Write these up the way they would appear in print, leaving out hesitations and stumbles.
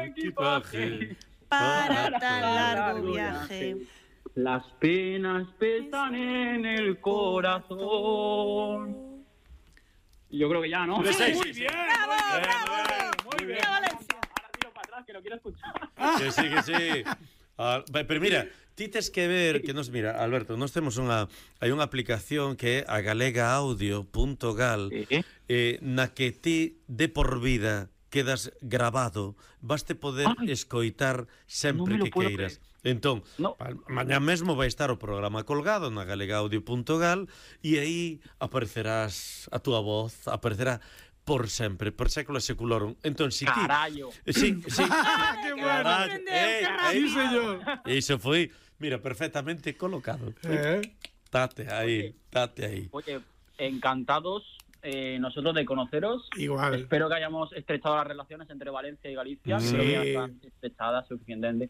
equipaje para tan largo viaje. Las penas pesan en el corazón. Yo creo que ya, ¿no? Sí, sí, Muy sí. bien. Muy bien. Ahora tiro para atrás, que lo quiero escuchar. Que sí, que sí. Pero mira, ti tes que ver que nos mira, Alberto, nós temos hai unha aplicación que é a galegaaudio.gal na que ti de por vida quedas grabado, vaste poder escoitar sempre non me lo que puedo queiras. Entón, No. mañá mesmo vai estar o programa colgado na galegaaudio.gal e aí aparecerás a túa voz, aparecerá por sempre, por século seculorum. Entón, si ti... Carallo. Sí. ¡Qué bueno! Carallo. Sí, señor. Iso foi, mira, perfectamente colocado. Tate aí. Oye, encantados nosotros de conoceros. Igual. Espero que hayamos estrechado las relaciones entre Valencia y Galicia. Sí. Creo que ya están estrechadas suficientemente.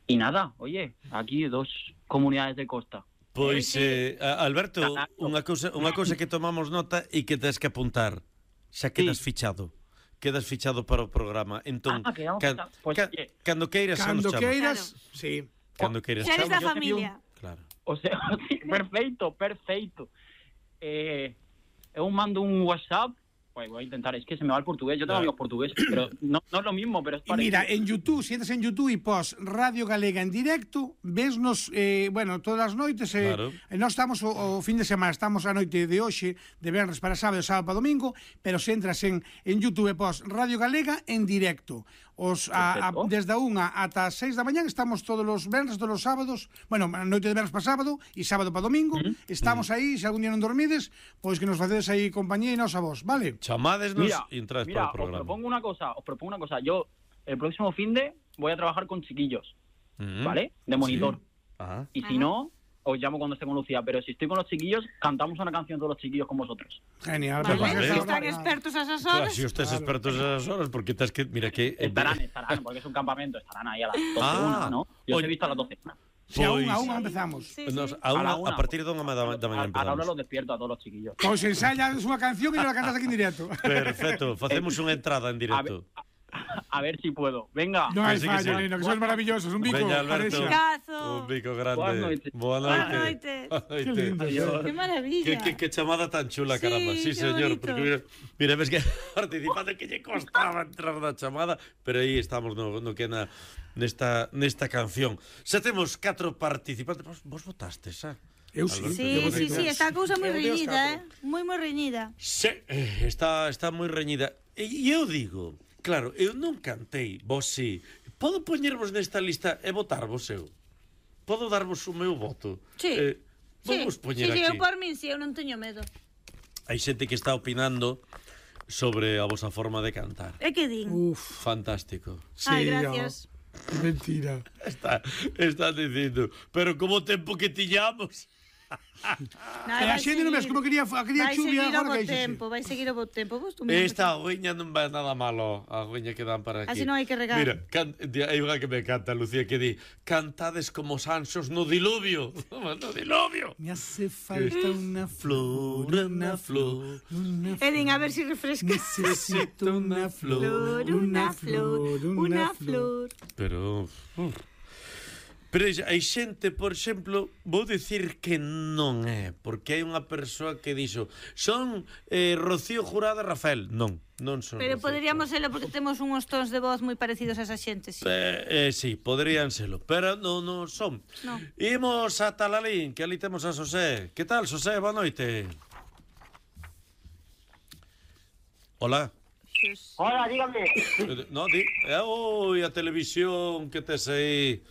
Y nada, oye, aquí dos comunidades de costa. Pois, Alberto, unha cousa que tomamos nota e que tens que apuntar. Xa quedas fichado. Quedas fichado para o programa. Entón, quedamos fichados. Pues, oye, cando queiras, xa nos Cando chamas. queiras, sí. Cando queiras, Xa eres da chamas. familia. Claro. o sea, sí, perfecto. Eu mando un WhatsApp. Pues voy a intentar, es que se me va el portugués. Yo tengo amigos portugueses, pero no es lo mismo, pero es Y parecido. mira, en YouTube, si entras en YouTube y pos Radio Galega en directo, vesnos, bueno, todas as noites, Claro. nós estamos o fin de semana, estamos a noite de hoxe, de venres para sábado, sábado para domingo, pero se entras en YouTube e pos Radio Galega en directo, desde a 1 ata as 6 da mañán, estamos todos os venres, todos os sábados, bueno, a noite de venres para sábado e sábado para domingo, estamos aí, se algún día non dormides, pois que nos facedes aí compañía e nos a vos, vale? Chamádesnos e entráis para o programa. Os propongo una cosa. Yo, el próximo finde, voy a trabajar con chiquillos, ¿vale? De monitor. Ajá. Y si no, os llamo cuando esté con Lucía. Pero si estoy con los chiquillos, cantamos una canción todos los chiquillos con vosotros. Genial. Vale, Vale. si están expertos a esas Claro, horas. si estés expertos a esas horas, porque tens que... Mira que... Estarán, porque es un campamento. Estarán ahí a las 12, ¿no? Yo os he visto a las 12. Si a Pois- unha empezamos. Sí, Nos, sí. a partir de 1 da mañá A la hora empezamos. los despierto a todos los chiquillos. Pois ensayas unha canción e non la cantas aquí en directo. Perfecto, facemos unha entrada en directo. A ver si puedo. Venga. Non hai Que sí, que fallo, sí. neno, que sois maravillosos. Un bico. Veña, Alberto. Arexa. Cazo. Un bico grande. Boa noite. Boa Boa noite. noite. Que lindo. Adiós. Qué maravilla. Que chamada tan chula, Sí, caramba. Sí, qué señor. bonito. Porque mira, ves que participando que lle costaba entrar na chamada, pero aí estamos no que nesta canción. Xa temos 4 participantes. Vos votastes, xa? Eu sí. Alberto, Sí, está a cousa moi reñida, moi reñida. Sí, está moi reñida. E eu digo, claro, eu non cantei, vos sí. Podo poñervos nesta lista e votarvos eu? Podo darvos o meu voto? Sí. Vamos poñer sí, aquí. eu por min, eu non teño medo. Hai xente que está opinando sobre a vosa forma de cantar. É que din? Uf, Fantástico. Ai, gracias. Mentira. Está dicindo, pero como tempo que tiñamos. E a xente non ves como quería chuvia agora que vai seguir o bo tempo. Vos tú Esta agüeña non vai nada malo, a agüeña que dan para aquí. Así non hai que regar. Mira, hai unha que me canta, Lucía, que di, cantades como sanxos no diluvio. No diluvio. Me hace falta una flor, una flor. una E din, a ver si refresca. Necesito una flor, Una flor. Pero hai xente, por exemplo, vou dicir que non é, porque hai unha persoa que dixo, son Rocío Jurado e Rafael. Non son. Pero Rocío. poderíamos serlo porque temos uns tons de voz moi parecidos a esa xente, sí. Sí, poderían serlo, pero non son. No. Imos a Talalín, que ali temos a Xosé. Que tal, Xosé? Boa noite. Hola. Hola, dígame. No, oi, a televisión que tes aí,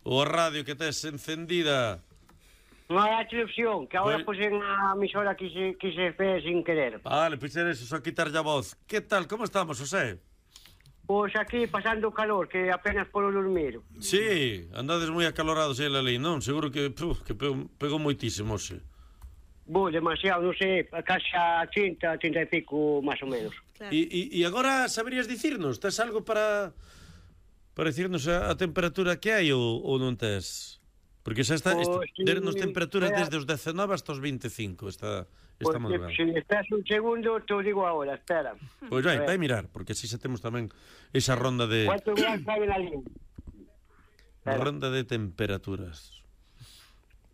ou a radio que tes encendida. Non hai a televisión, que agora Pues- puxen a emisora que se fez sin querer. Vale, pois era eso, só quitarlle a voz. Que tal, como estamos, Xosé? Pois aquí pasando o calor, que apenas polo dormir. Sí, andades moi acalorados aí, ali, non? Seguro que pegou moitísimo, xe. Demasiado, non sei, casi a 30 e pico, máis ou menos. Claro. E agora saberías dicirnos? Tes algo para dicirnos a temperatura que hai ou non tes? Porque xa está, Pois, dernos temperatura vea. desde os 19 hasta os 25 esta Está moi ben. Se esperas un segundo, te o digo ahora, espera. Pois vai mirar, porque así xa temos tamén esa ronda de... ¿Cuántos grados hay en la línea? Ronda de temperaturas.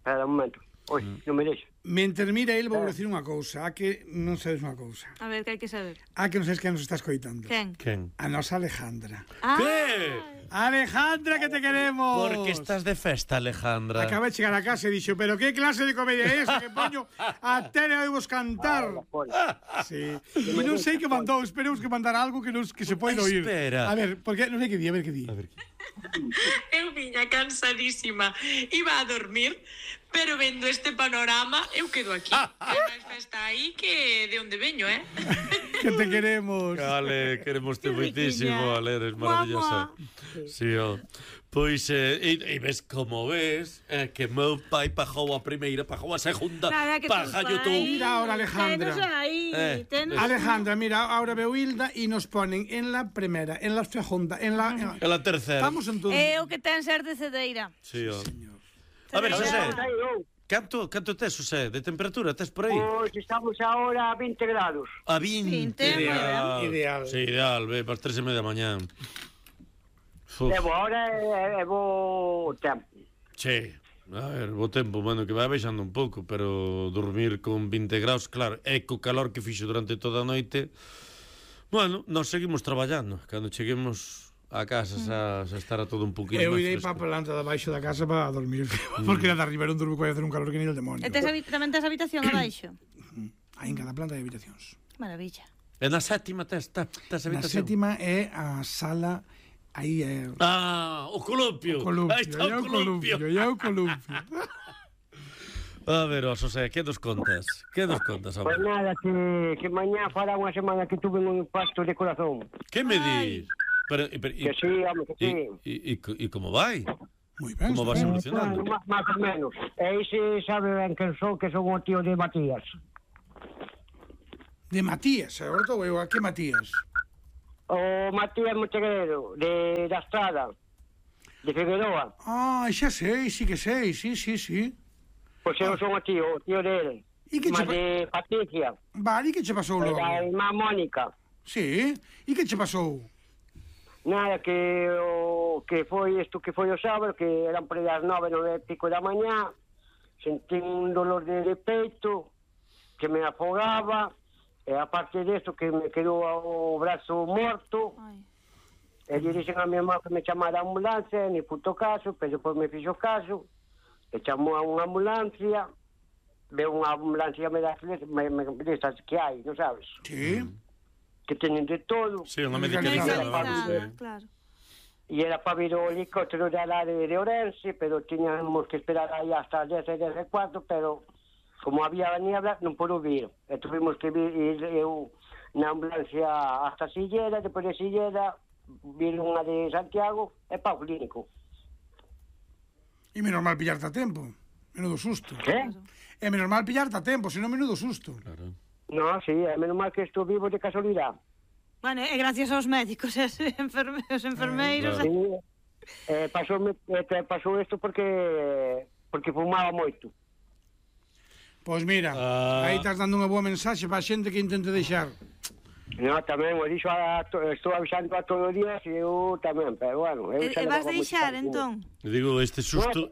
Espera un momento. Oi, non me deixa. Mentre mira el, vou decir unha cousa. A que non sabes unha cousa. A ver, que hai que saber. A que non sabes quen nos está escoitando. Quen? A nosa Alejandra. Que? Alejandra, que te queremos! Porque estás de festa, Alejandra. Acabei de chegar a casa e dixo, pero que clase de comedia é esa que poño a tele a vos cantar? Sí. E non sei que mandou, esperemos que mandar algo que se pode oír. Espera. A ver, porque non sei que di, a ver que di. Eu viña cansadísima, iba a dormir, pero vendo este panorama, eu quedo aquí. Hai máis festa aí que de onde veño, Que te queremos. Ale, queremos te moitísimo, Ale, eres maravillosa. Sí, Pois, e ves como ves, que meu pai pagou a primeira, pagou a segunda, pagallo tú. Mira ahora, Alejandra. Alejandra, mira, ahora veo Hilda e nos ponen en la primera, en la segunda, en la tercera. Estamos en todo. É o que ten ser de cedeira. Sí, A ver, José, canto tes, José, de temperatura tes por aí? Pois estamos ahora a 20 grados. A 20. Ideal. Sí, ideal, ve, para as 3:30 da mañá. Levo ahora é bo tempo. Sí, a ver, bo tempo, bueno, que vai baixando un pouco, pero dormir con 20 graus, claro, e co calor que fixo durante toda a noite, bueno, nós seguimos traballando. Cando cheguemos a casa xa estará todo un poquinho Eu máis irei fresco. para a planta de baixo da casa para dormir, porque na de arriba non durmo que vai hacer un calor que ni el demonio. E tamén tes habitación abaixo? Aí en cada planta de habitacións. Maravilla. E na sétima tes Na habitación? sétima é a sala. Aí é... O columpio. Aí está o columpio. É o columpio. A ver, José, que nos contas? Pois nada, que mañá fará unha semana que tuve un impacto de corazón. Que me dis? Que sí, home, que sí. E como vai? Moi ben. Como vas evolucionando? Más ou menos. E aí se sabe ben que son o tío de Matías. De Matías, agora estou eu. A que Matías? O Matías Montegueiro, da Estrada, de Figueroa. Xa sei, sí que sei, sí. Pois eu son o tío dele. E que Mas de Patricia. Vale, e que che pasou logo? Da irmá Mónica. Sí, e que che pasou? Nada, que foi isto que foi o sábado, que eran por aí as 9 e pico da mañá, sentí un dolor de peito, que me afogaba, e aparte desto que me quedou o brazo morto. E lle dixen a mi mamá que me chamara a ambulancia, ni puto caso, pero depois me fixo caso, e chamou a unha ambulancia, veo unha ambulancia destas que hai, non sabes? Sí. Que teñen de todo. Sí, unha medicalizada. Claro. E era para vir o helicóptero de Alare de Ourense, pero tiñamos que esperar aí hasta as 10 e 4, pero como había niebla, non pudo vir. E tuvimos que ir eu na ambulancia hasta Sillera, depois de Sillera, vir unha de Santiago e para o clínico. E menos mal pillarte a tempo. Menudo susto. Que? É menos mal pillarte a tempo, senón menudo susto. Claro. No, sí, é menos mal que estou vivo de casualidade. Bueno, e gracias aos médicos e os enfermeiros. Sí, pasou isto porque fumaba moito. Pois mira, aí estás dando unha boa mensaxe para a xente que intente deixar. No, tamén, o dixo estou avisando a todos os días e eu tamén, pero bueno... E vas deixar, entón? Digo, este susto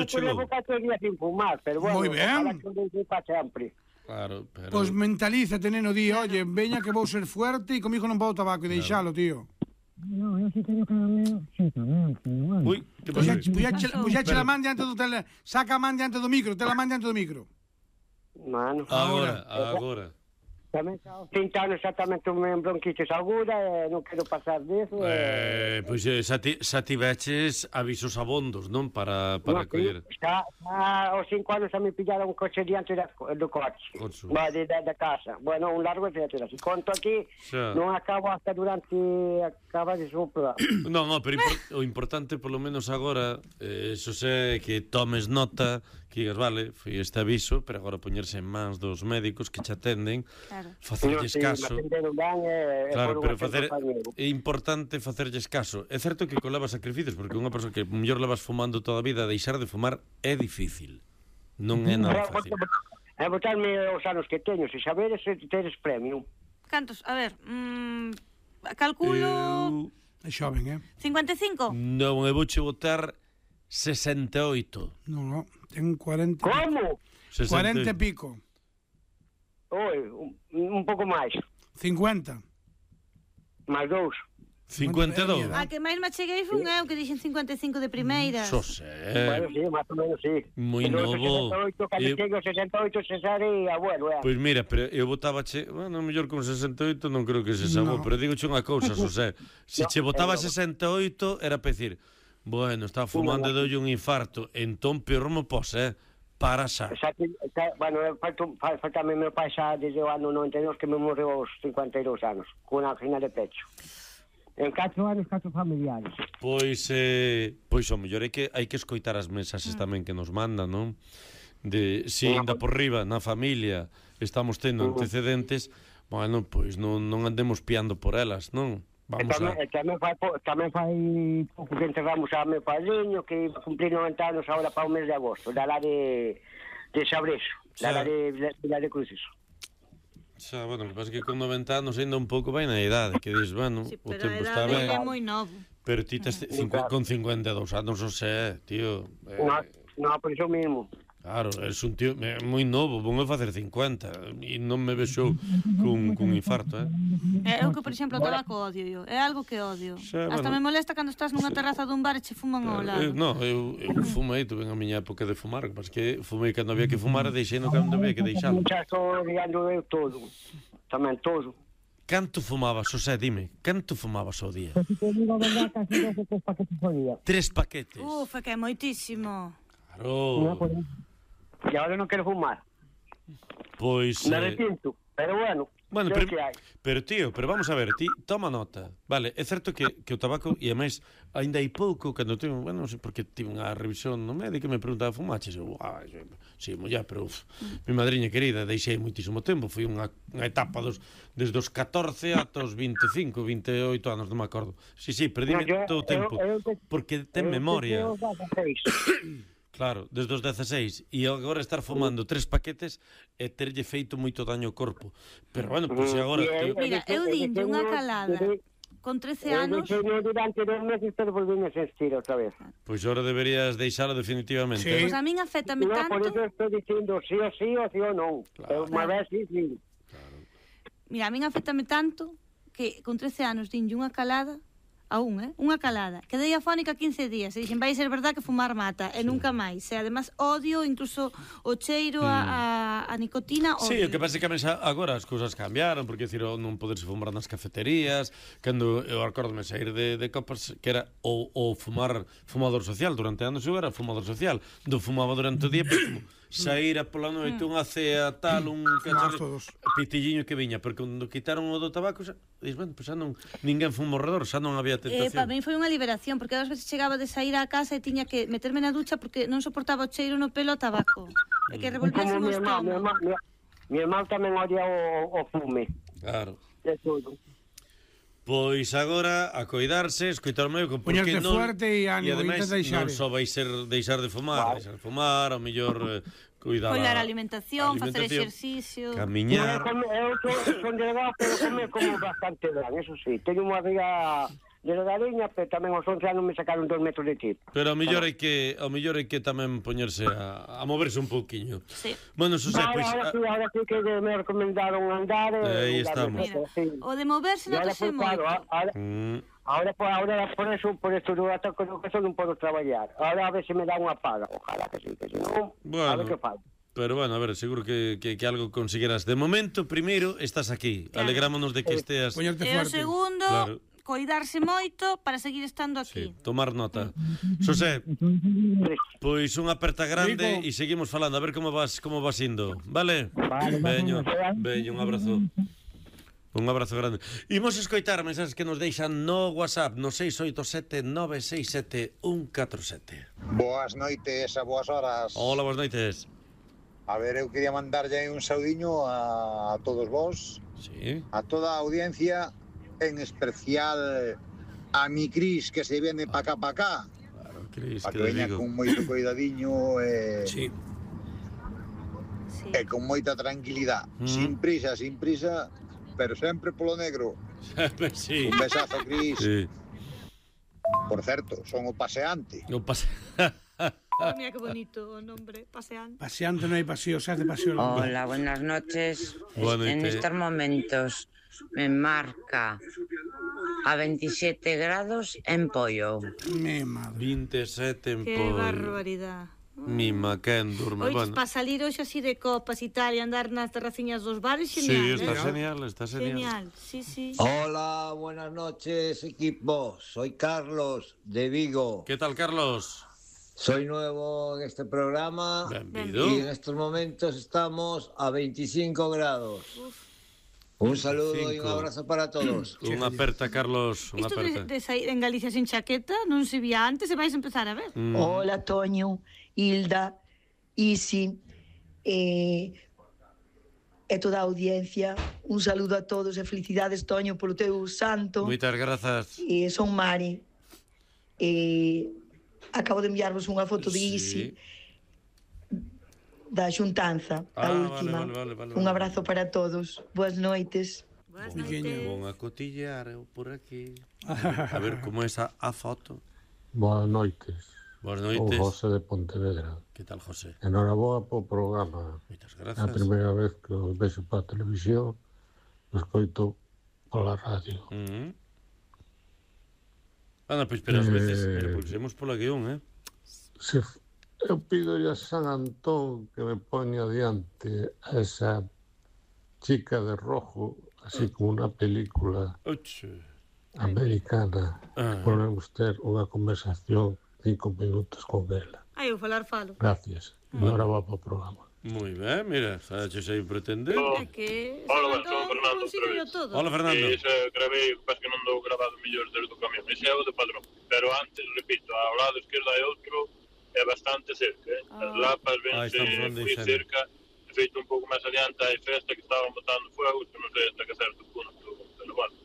chegou. Levo 4 días sin fumar, pero bueno... Moi ben. Ojalá que non para sempre. Claro, pero... Pois mentalízate, neno, di, oye, veña que vou ser fuerte e comigo non podo tabaco e deixalo, tío. No, eu si teño caramelo, sí, tamén, pero bueno... Ui, que pasou? Pois xa che la man diante do tele... Saca a man diante do micro, te la man diante do micro. Mano... Agora. Tamén aos 30 anos exactamente me bronquitis aguda e non quero pasar disso. Pois xa tiveches avisos abondos, non? Para coller. Xa aos 5 anos xa me pillaron un coche diante do coche. Da casa. Bueno, un largo etcétera. Si conto aquí, non acabo hasta durante acaba de sopra. Non, pero o importante, polo menos agora, eso é que tomes nota, que digas, vale, foi este aviso, pero agora poñerse en mans dos médicos que che atenden, facerlles caso. Claro, pero é importante facerlles caso. É certo que coleva sacrificios, porque unha persoa que mellor levas fumando toda a vida, deixar de fumar é difícil. Non é nada fácil. E botarme os anos que teño, se saberes se teres premium. Cantos? A ver, calculo... É xoven, 55? Non, eu vouche botar 68. Non, ten 40... Como? 40 e pico. Oi, un pouco máis. 50. Máis 2. 52. A que máis me cheguei foi eu que dixen 55 de primeira. Xosé. Bueno, sí, máis ou menos, sí. Moi novo. 68, cando chego 68, cesaría, bueno, Pois mira, pero eu botaba bueno, mellor con 68 non creo que se sabou, pero digo unha cousa, Xosé. Se che botaba 68 era para decir, bueno, está fumando e doulle un infarto, entón peor mo pos, para xa. Bueno, faltame meu pai xa desde o ano 92 que me morreu aos 52 anos, con unha angina de pecho. En 4 anos, 4 familiares. Pois o mellor hai que escoitar as mensaxes tamén que nos mandan, non? De si ainda por riba na familia estamos tendo antecedentes, bueno, pois non andemos piando por elas, non? Vamos a... Tamén fai pouco que enterramos a meu padriño, que iba a cumplir 90 anos agora para o mes de agosto, da lá de Sabreso, da lá de Cruces. Xa, bueno, que pasa que con 90 anos ainda un pouco vai na idade, que dis, bueno, sí, o tempo está Pero ben. é moi novo. Pero ti tes con 52 anos, non sei, tío. No, por iso mesmo. Claro, es un tío moi novo, vou a facer 50 e non me vexo cun infarto, Eu que, por exemplo, o tabaco odio yo. É algo que odio. Xa, Hasta bueno, me molesta cando estás nunha terraza dun bar e che fuman ao lado. Non, eu fumei, tuve a miña época de fumar, mas que fumei cando había que fumar e deixei no cando había que deixalo. Xa estou digando eu todo, tamén todo. Canto fumabas, Xosé, dime, canto fumabas ao día? Se te digo a verdade, casi 3 paquetes ao día. 3 paquetes? É que é moitísimo. Claro. E agora non quero fumar. Pois... Me arrepinto, pero bueno, pero tío, pero vamos a ver, ti toma nota. Vale, é certo que o tabaco, e ademais, ainda hai pouco, cando tengo, bueno, non sei, porque tive unha revisión no médico que me preguntaba, fumaches? Eu, sí, mollá, pero mi madriña querida, deixei moitísimo tempo, foi unha etapa desde os 14 ata os 25, 28 anos, non me acordo. Sí, perdíme todo o tempo, porque ten memoria. Claro, desde os 16 e agora estar fumando 3 paquetes e terlle feito moito daño ao corpo. Pero bueno, pois agora... Mira, eu dinlle unha calada con 13 anos... Durante 2 meses, pero volvíme a sentir outra vez. Pois agora deberías deixalo definitivamente. Pois a min afétame tanto... Por iso estou dicindo sí ou sí ou sí ou non. Unha vez sí. Mira, a min afétame tanto que con 13 anos dinlle unha calada unha calada. Quedei afónica 15 días e dixen, vai ser verdad que fumar mata, e nunca máis. E además odio incluso o cheiro a nicotina. Sí, o que pasa é que agora as cousas cambiaron, porque non poderse fumar nas cafeterías, cando eu acordome sair de copas, que era o fumador social, durante anos eu era fumador social, fumaba durante o día, pero como saíra pola noite unha cea tal, un pitilliño que viña, porque cando quitaron o do tabaco, bueno, pues xa non, ninguén fuma ao redor, xa non había tentación. Para mí foi unha liberación, porque ás veces chegaba de sair á casa e tiña que meterme na ducha porque non soportaba o cheiro no pelo a tabaco. E que revolvese o estómago. Mi irmán tamén odia o fume. Claro. É todo. Pois agora a coidarse, escoitar o meu, porque poñerte fuerte e ánimo, ademais non só vai ser deixar de fumar, deixar de fumar, ao mellor cuidar a alimentación, facer exercicio, camiñar. Eu son delgado, pero como bastante ben, eso sí. Teño unha vida delgadiña, pero tamén aos 11 anos me sacaron 2 metros de tipo. Pero ao mellor hai que tamén poñerse a moverse un pouquiño. Sí. Bueno, Xosé, pois ahora sí que me recomendaron andar. Aí estamos. Mira, o de moverse non te sei moito. Ahora por eso do ataque do caso non podo traballar. Ahora a ver se me dá unha paga. Ojalá que sí, que si non, a ver que fai. Pero bueno, a ver, seguro que algo conseguirás. De momento, primeiro, estás aquí. Claro. Alegrámonos de que esteas... E o segundo... Claro. Coidarse moito para seguir estando aquí. Sí, tomar nota. Xosé, pois unha aperta grande e seguimos falando, a ver como vas indo, vale? Veño, un abrazo. Un abrazo grande. Imos escoitar mensaxes que nos deixan no WhatsApp, no 687-967-147. Boas noites e boas horas. Hola, boas noites. A ver, eu quería mandarlle un saudiño a todos vos, sí, a toda a audiencia, en especial a mi Cris, que se viene pa cá. Claro, Cris, que veña con moito cuidadiño sí. e con moita tranquilidade, sin prisa, pero sempre polo negro. Sí. Un besazo, Cris. Sí. Por certo, son o paseante. Mira que bonito o nombre, paseante. Paseante non hai paseo, xa de paseo. Hola, buenas noches. Buenas En noches. estos momentos me marca a 27 grados en Pollo. Mi madre. 27 en Que Pollo. barbaridade. Mima, quen durme. Oiches, Bueno. para salir hoxe así de copas e tal e andar nas terraciñas dos bares, Sí, genial, está genial, está Genial, genial. sí. Hola, buenas noches, equipo. Soy Carlos, de Vigo. ¿Qué tal, Carlos? Soy nuevo en este programa Benvido. y en estos momentos estamos a 25 grados. Un saludo y un abrazo para todos. Unha aperta, Carlos, unha Isto aperta. de sair en Galicia sin chaqueta non se vía antes e vais empezar a ver. Hola, Toño, Hilda, Isi, e toda a audiencia. Un saludo a todos e felicidades, Toño, polo teu santo. Moitas grazas. Son Mari. Acabo de enviarvos unha foto de Isi da xuntanza, a última. Vale. Un abrazo para todos. Boas noites. Boas noites. Vou a cotillar eu por aquí. A ver como é esa a foto. Boas noites. Boas O noites. José de Pontevedra. Que tal, José? Enhoraboa po programa. Moitas É a grazas. primeira vez que os vexo para a televisión, os coito pola radio. Anda, pois, pero ás veces, pulsemos pola guión, Eu pido a San Antón que me pone adiante a esa chica de rojo, así como una película americana. Podemos ter unha conversación 5 minutos con ela. Ai, eu falar falo. Gracias. Enhoraboa po programa. Moi ben, mira, saches aí pretender. É que Hola, son Fernando. todo. Hola, Fernando. Ese gravei, pas que non dou grabado mellor desde o camión. Ese é o de padrón. Pero antes, repito, ao lado esquerdo hai outro, é bastante cerca. As lapas vense moi cerca. De feito, un pouco máis adiante hai festa que estaban botando fuego, que non sei hasta que certo punto. Pero bueno,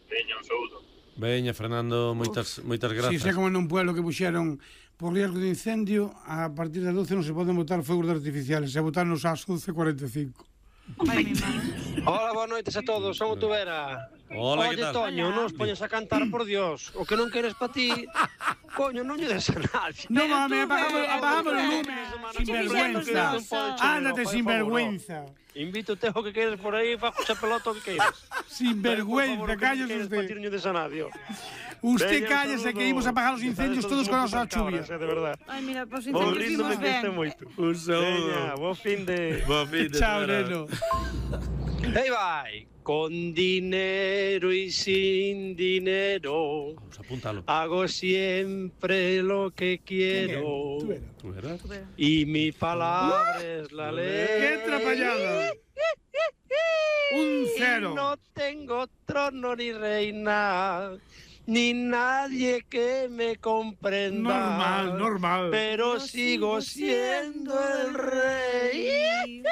veña, un saúdo. Veña, Fernando, moitas grazas. Si, sei como nun pueblo que puxeron por riesgo de incendio, a partir das 12 non se poden botar fogos artificiales, se botarnos ás 11:45. Hola, boas noites a todos, son o Tubera. Hola, Oye, que tal? Toño, non os poñes a cantar, por Dios. O que non queres pa ti, coño, non lle des a nadie. No mames, apagamos o lume. Sinvergüenza. Ándate, sinvergüenza. Invítote o que queres por aí, fa xa pelota o que queres. Sinvergüenza, calles usted. Pa ti non lle des a nadie. Usted cállese que íbamos a apagar os incendios todos con a nosa chuvia. De verdad. Ai, mira, pues incendios vimos ben. Un saúdo. Veña, bo fin de... Chao, neno. Aí vai. Con dinero y sin dinero. Vamos a apuntalo. Hago siempre lo que quiero. ¿Tú eras? Y mi palabra es la ley. ¡Qué atrapallada! Un 0. Y no tengo trono ni reina, ni nadie que me comprenda. Normal. Pero sigo siendo el rey.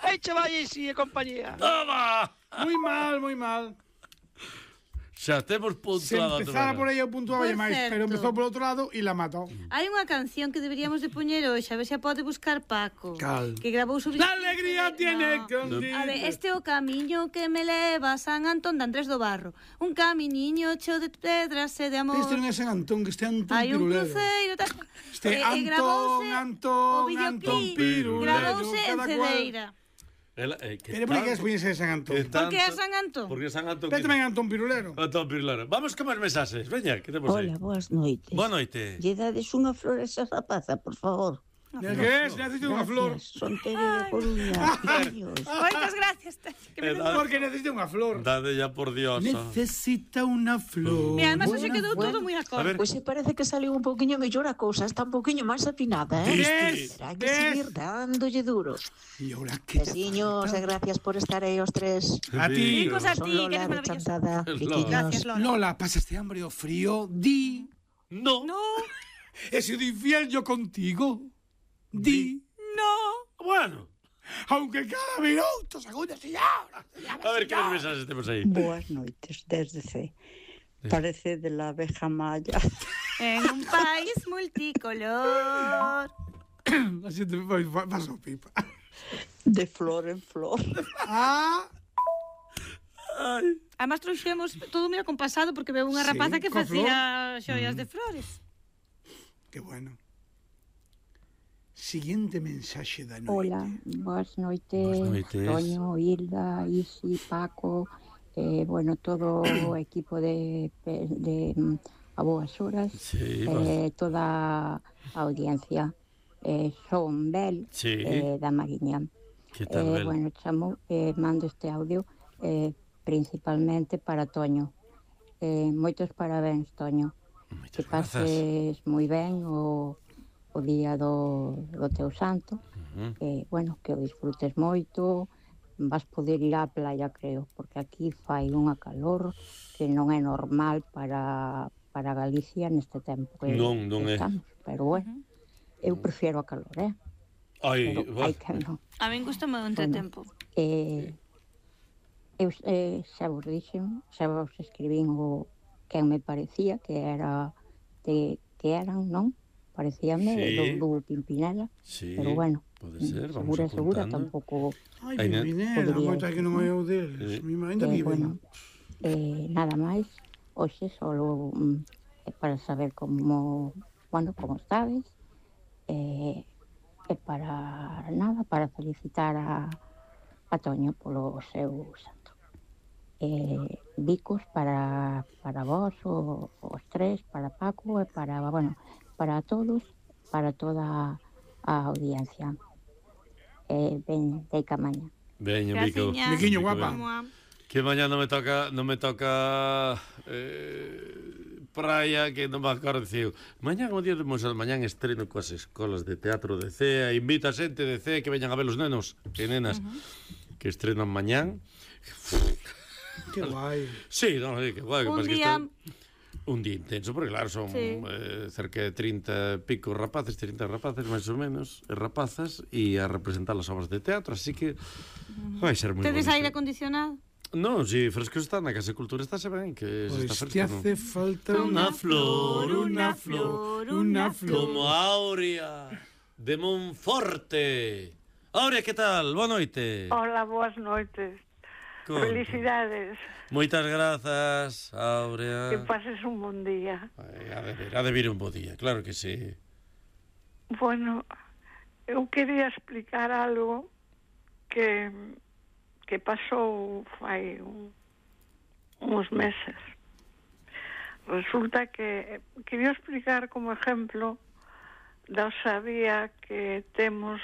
¡Ey, chaval, y sí, compañía! ¡Toma! Muy mal. Xa temos Se puntuado. empezara por aí eu puntuaba Por máis, certo. pero empezou por outro lado e la matou. Hai unha canción que deberíamos de poñer hoxe, a ver se a pode buscar Paco. Cal? Que grabou sobre... La alegría tiene A ver, este é o camiño que me leva a San Antón de Andrés do Barro. Un caminiño cheo de pedras e de amor. Este non é San Antón, que este Antón Hai un Pirulero. cruceiro... Este Antón Pirulero. Gravouse en cada cual. Cedeira. Pero por que es poñerse de San Antón? Por que é San Antón? Porque San Antón. Pero tamén Antón Pirulero. Antón Pirulero. Vamos con máis mensaxes. Veña, que temos aí? Hola, boas noites. Boa noite. Lle dades unha flor a esa rapaza, por favor. Que es? Necesito unha flor. Son Tere de Coruña. Adiós. Moitas gracias. Porque necesito unha flor. Dade ya por Dios. Necesita unha flor. Mira, además hoxe quedou todo moi acorde. Pois se parece que saliu un pouquiño mellor a cousa, está un pouquiño máis afinada, Terá que seguir dándolle duro. E ora que Besiños e gracias por estar aí os tres. A ti. Ricos a Son ti, que Lola eres de maravillosa. Chantada. Gracias, Lola. Lola, pasaste hambre o frío? Di. No. He sido infiel yo contigo. Di. No. Bueno. Aunque cada minuto, segundos y horas. A ver, que mensaxes temos aí? Boas noites, desde C. Parece de la abeja maya. En un país multicolor. A xente faz o pipa. De flor en flor. Además trouxemos todo moi acompasado porque veo unha rapaza que facía xoias de flores. Que bueno. Siguiente mensaxe da noite. Hola, boas noites. Toño, Hilda, Isi, Paco, bueno, todo o equipo de A Boas Horas, toda a audiencia. Son Bel, da Mariña. Que tal, Bel? Bueno, chamo, mando este audio principalmente para Toño. Moitos parabéns, Toño. Que pases moi ben o día do teu santo. Bueno, que o disfrutes moito. Vas poder ir á playa, creo, porque aquí fai unha calor que non é normal para Galicia neste tempo que estamos. Pero bueno, eu prefiero a calor, Ai, que non. A min gustame o entretempo. Eu xa vos dixen, xa vos escribín o quen me parecía que eran, non? Parecíame do Pimpinela, pero bueno, pode ser, vamos segura tampouco. Ai, Pimpinela, moita que non é o deles, mi ainda viven. Nada máis, hoxe solo para saber como estabes, e para felicitar a Toño polo seu santo. Bicos para vos, os tres, para Paco e para todos, para toda a audiencia. Ben, deica maña. Veño, Bico. Biquiño, guapa. Que mañá non me toca praia, que non me acordo diciu. Mañá, como día de mañá estreno coas escolas de teatro de CEA, invita a xente de CEA que veñan a ver os nenos e nenas que estrenan mañán. Que guai. Sí, non, que guai. Un día intenso, porque claro, son cerca de 30 pico rapaces, 30 rapaces, máis ou menos, rapazas, e a representar as obras de teatro, así que vai ser moi bonito. Tedes aire acondicionado? Non, si fresco está na Casa de Cultura, estáse ben, que se está fresco. Pois te hace falta unha flor, como Aurea de Monforte. Aurea, que tal? Boa noite. Hola, boas noites. Felicidades. Moitas grazas, Aurea. Que pases un bon día. Ha de vir un bo día, claro que sí. Bueno, eu quería explicar algo que pasou fai uns meses. Resulta que quería explicar como exemplo da osadía que temos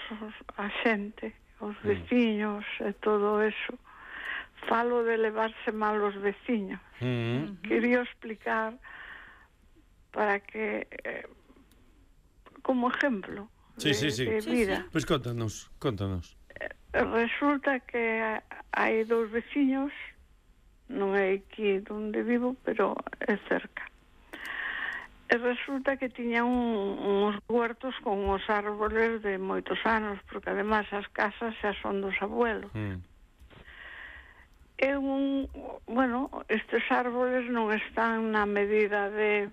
a xente, os veciños e todo eso. Falo de levarse mal os veciños. Quería explicar para que como exemplo de vida. Pois contanos. Resulta que hai dous veciños, non é aquí onde vivo, pero é cerca. E resulta que tiñan uns huertos con uns árboles de moitos anos, porque además as casas xa son dos abuelos. Estes árboles non están na medida de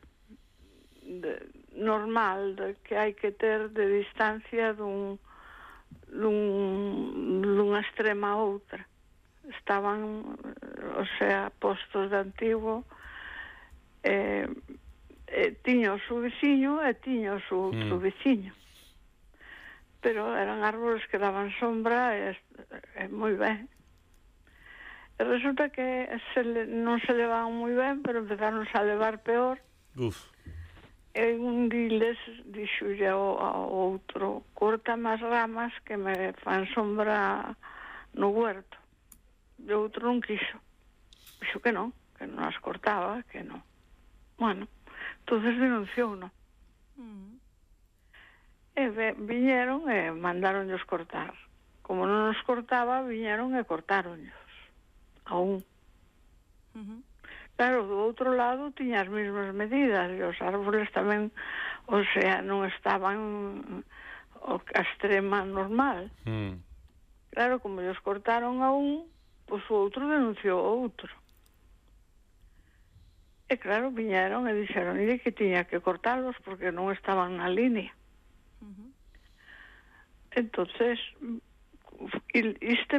normal que hai que ter de distancia dunha extrema a outra. Estaban, postos de antigo, tiña o seu veciño e tiña o seu outro veciño. Pero eran árboles que daban sombra e moi ben. E resulta que non se levaban moi ben, pero empezaron a levar peor. E un diles dixolle ao outro: córtame as ramas que me fan sombra no huerto. E o outro non quiso. Dixo que non as cortaba, que non. Bueno, entonces denunciou, non? E viñeron e mandaronllos cortar. Como non os cortaba, viñeron e cortáronllos. Aún. Claro, do outro lado tiña as mesmas medidas e os árboles tamén, non estaban a extrema normal. Claro, como os cortaron a un, pois o outro denunciou o outro. E claro, viñeron e dixeron que tiña que cortalos porque non estaban na línea. entonces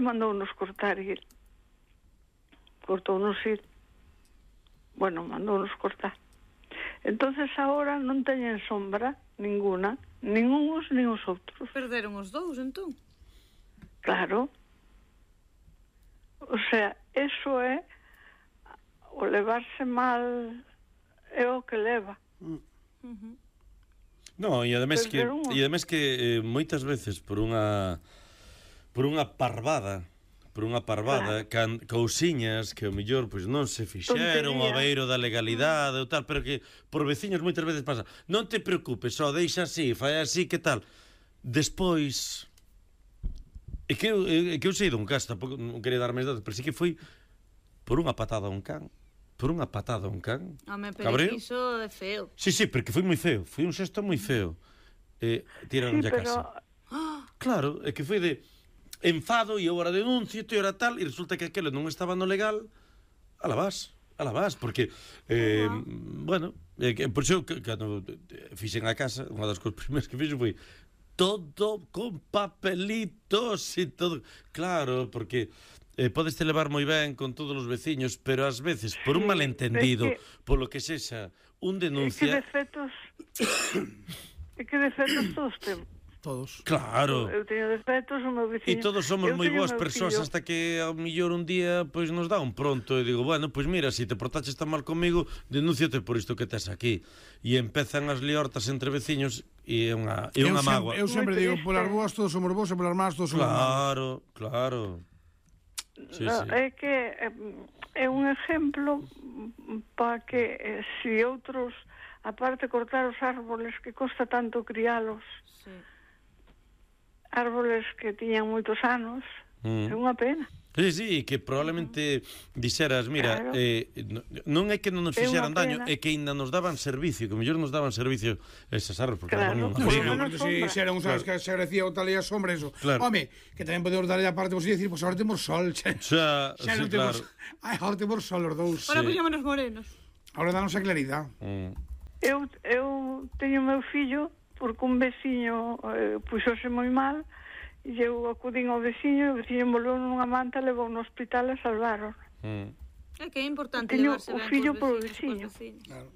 mandounos cortar il. Cortounos il. Bueno, mandounos cortar. Entonces agora non teñen sombra ninguna, nin uns nin os outros. Perderon os dous, entón? Claro. O sea, eso é o levarse mal é o que leva. No, e ademais que moitas veces por unha parvada, cousiñas que ao mellor pois non se fixeron ao beiro da legalidade ou tal, pero que por veciños moitas veces pasa. Non te preocupes, só deixa así, fai así, que tal. Despois é que eu sei dun caso, tampouco non quería dar máis datos, pero sí que foi por unha patada a un can. Home, pero iso é feo. Sí, porque foi moi feo. Foi un xesto moi feo. Tiraron a casa. Claro, é que foi de enfado e agora denuncio e ahora tal, e resulta que aquilo non estaba no legal. Ala vas, porque bueno, por iso cando fixen a casa, unha das cousas primeiras que fixen foi todo con papelitos e todo. Claro, porque podes te levar moi ben con todos os veciños, pero ás veces, por un malentendido, polo que sexa, un denuncia... É que defectos todos temos. Todos. Claro. Eu teño defectos, o meu veciño... E todos somos moi boas persoas hasta que ao millor un día pois nos dá un pronto e digo, bueno, pois mira, se te portaches tan mal comigo, denúnciate por isto que tes aquí. E empezan as liortas entre veciños e é unha mágoa. Eu sempre digo, polas boas todos somos bons e polas más todos somos malos. Claro. Sí. É que é un exemplo para que se outros, aparte cortar os árboles que costa tanto crialos, árboles que tiñan moitos anos, é unha pena. Sí, que probablemente dixeras, mira, non é que non nos fixeran daño, é que ainda nos daban servicio, que mellor nos daban servicio esas árboles, porque non se xeran uns anos que se agradecía o tal e a sombra, eso. Home, que tamén podemos darlle a parte vos e dicir, pois agora temos sol, xa non temos... Agora temos sol os dous. Agora puxámonos morenos. Agora danos a claridade. Eu teño meu fillo, porque un veciño puxose moi mal, e eu acudín ao veciño, e o veciño envolveu nunha manta, levou no hospital e salvaron. É que é importante levarse ben o fillo polo veciño. Claro.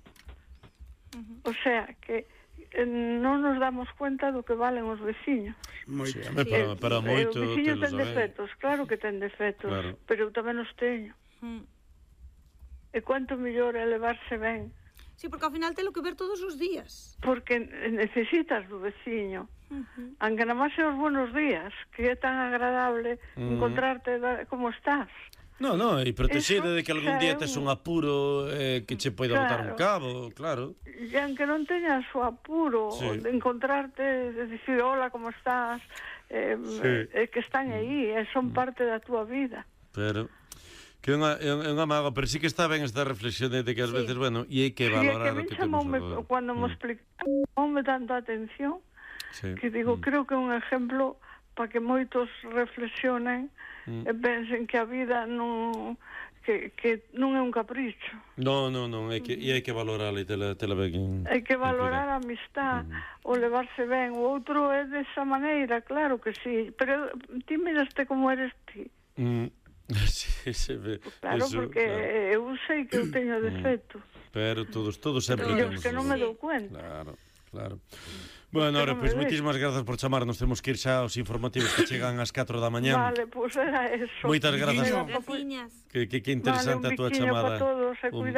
O sea, que non nos damos cuenta do que valen os veciños. Para moito. O veciño ten defectos, claro que ten defectos, pero eu tamén os teño. E quanto mellor é levarse ben. Sí, porque ao final telo que ver todos os días. Porque necesitas do veciño. Aunque nada máis os buenos días, que é tan agradable encontrarte como estás. No, e protexida de que algún día tes un apuro que che poida botar un cabo, claro. E aunque non teñas o apuro de encontrarte, de dicir hola, como estás, que están aí, son parte da túa vida. Pero... que é unha mágoa, pero sí que está ben esta reflexión de que ás veces, bueno, e hai que valorar o que temos agora. Cando me explicou tanto atención, que digo, creo que é un exemplo para que moitos reflexionen e pensen que a vida non é un capricho. Non, e hai que valorarla e tela ben. Hai que valorar a amistad, o levarse ben. O outro é desa maneira, claro que sí, pero ti miraste como eres ti. Claro, porque eu sei que eu teño defecto. Pero todos sempre temos. Que non me dou cuenta. Claro. Bueno, ahora, pois moitísimas grazas por chamarnos. Temos que ir xa aos informativos que chegan ás 4 da mañá. Vale, pois era eso. Moitas grazas. Que interesante a túa chamada. Un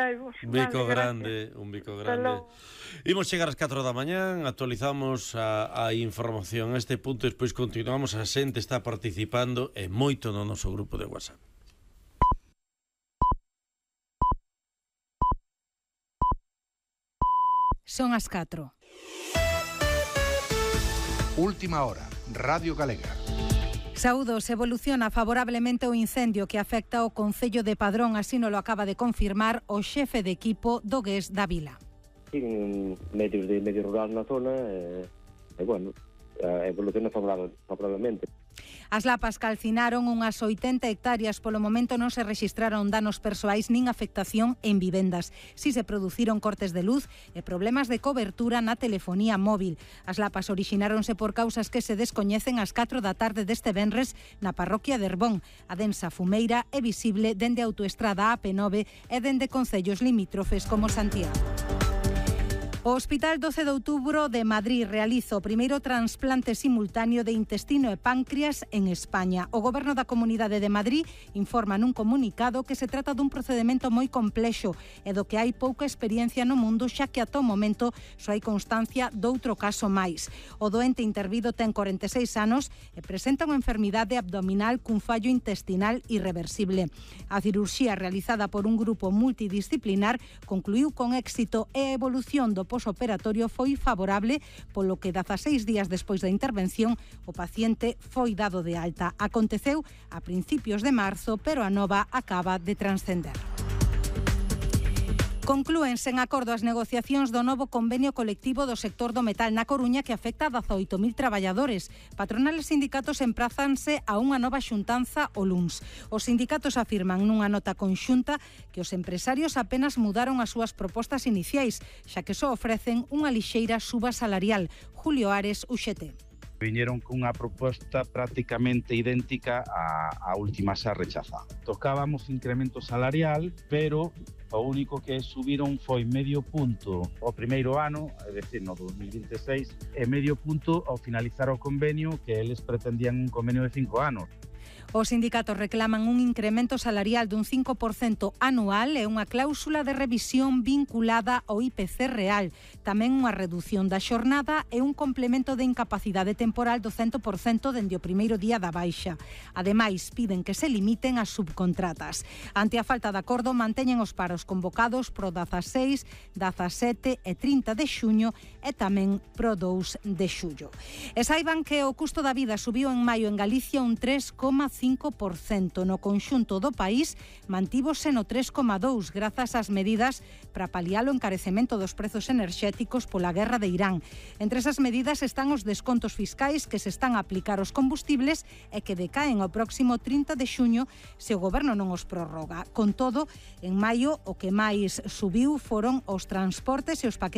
bico grande, Imos chegar ás 4 da mañá, actualizamos a información a este punto, despois continuamos, a xente está participando e moito no noso grupo de WhatsApp. Son as 4. Última hora, Radio Galega. Saúdos, evoluciona favorablemente o incendio que afecta o Concello de Padrón, así nos lo acaba de confirmar o xefe de equipo do GES da Vila. Medios de medio rural na zona, bueno, evoluciona favorablemente. As lapas calcinaron unhas 80 hectáreas. Polo momento non se rexistraron danos persoais nin afectación en vivendas. Si se produciron cortes de luz e problemas de cobertura na telefonía móvil. As lapas orixináronse por causas que se descoñecen ás 4 da tarde deste venres na parroquia de Herbón. A densa fumeira é visible dende a autoestrada AP9 e dende concellos limítrofes como Santiago. O Hospital 12 de Outubro de Madrid realiza o primeiro trasplante simultáneo de intestino e páncreas en España. O Goberno da Comunidade de Madrid informa nun comunicado que se trata dun procedimento moi complexo e do que hai pouca experiencia no mundo, xa que ata o momento só hai constancia doutro caso máis. O doente intervido ten 46 anos e presenta unha enfermidade abdominal cun fallo intestinal irreversible. A cirurxía realizada por un grupo multidisciplinar concluiu con éxito e a evolución do posoperatorio foi favorable, polo que 16 días despois da intervención o paciente foi dado de alta. Aconteceu a principios de marzo, pero a nova acaba de transcender. Conclúense en acordo as negociacións do novo convenio colectivo do sector do metal na Coruña que afecta a 18.000 traballadores. Patronal e sindicatos emprázanse a unha nova xuntanza o luns. Os sindicatos afirman nunha nota conxunta que os empresarios apenas mudaron as súas propostas iniciais, xa que só ofrecen unha lixeira suba salarial. Julio Ares, UGT. Viñeron cunha proposta prácticamente idéntica á última xa rechazada. Tocábamos incremento salarial, pero o único que subiron foi medio punto o primeiro ano, é dicir, no 2026, e medio punto ao finalizar o convenio, que eles pretendían un convenio de 5 anos. Os sindicatos reclaman un incremento salarial dun 5% anual e unha cláusula de revisión vinculada ao IPC real. Tamén unha redución da xornada e un complemento de incapacidade temporal do 100% dende o primeiro día da baixa. Ademais, piden que se limiten as subcontratas. Ante a falta de acordo, manteñen os paros convocados pro 16, 17 e 30 de xuño e tamén pro 2 de xullo. E saiban que o custo da vida subiu en maio en Galicia un 3,5%. No conxunto do país mantívose no 3,2% grazas ás medidas para paliar o encarecemento dos prezos enerxéticos pola guerra de Irán. Entre esas medidas están os descontos fiscais que se están a aplicar aos combustibles e que decaen o próximo 30 de xuño se o goberno non os prorroga. Con todo, en maio o que máis subiu foron os transportes e os paquetes